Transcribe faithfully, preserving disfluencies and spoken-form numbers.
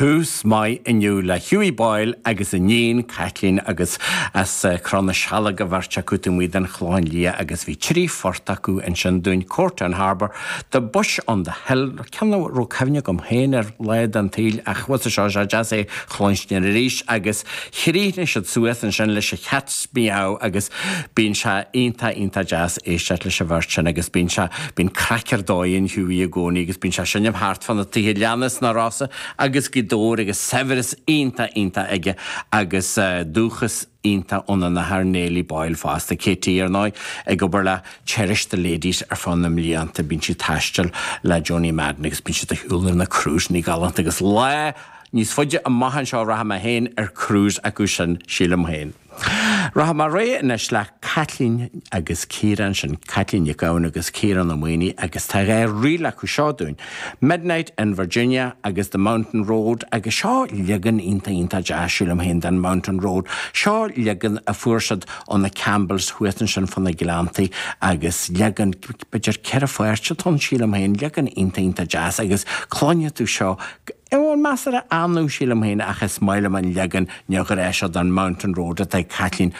Tús maith inniu le Hughie Boyle agus a iníon Caitlín agus as eh, Cró na Sealg a bheirt acu taobh den Chlochán Liath agus bhí trí phort acu ansin dúinn Courtown Harbour, The Bush on the Hill, ceann a raibh cuimhne agam féin ar lá den tsaol ach bhfuil seo sé deas é chluinstin arís agus chríochnaigh siad suas ansin leis a Cat's Meow agus bíonn sé iontach iontach deas éisteacht leis an bheirt sin agus bíonn sé bíonn craic ar dóigh ag Hughie i gcónaí agus bíonn sé ag seinm thart fá na tithe leanna sna Rosa agus Gaoth Dobhair agus saibhreas iontach iontach aige agus uh, dúchas iontach óna athair Neilí Boyle fosta Katie ar ndóigh ag obair le Cherish the Ladies ar feadh na mblianta bíonn sí ag taisteal le Johnny Madden agus bíonn siad ag siúl ar na cruiseanna galánta agus lá níos faide amach anseo rachaidh mé féin ar cruise acu sin sílim féin. Rachaidh mé ar aghaidh anois le Caitlín agus Ciarán sin Caitlín Nic Gabhann agus Ciarán Ó Maonaigh agus tá dhá ríl acu seo dúinn. Midnight in Virginia agus The Mountain Road agus seo leagan iontach iontach deas sílim féin den Mountain Road. Seo leagan a fuair siad ó na Campbells thuas ansin fá na Gleanntaí agus leagan b'fhéidir ceithre pháirt atá ann sílim féin leagan iontach iontach deas agus cluinfidh tú seo an measartha annamh sílim féin ach is maith liom an leagan neamhghnách seo den Mountain Road atá Caitlín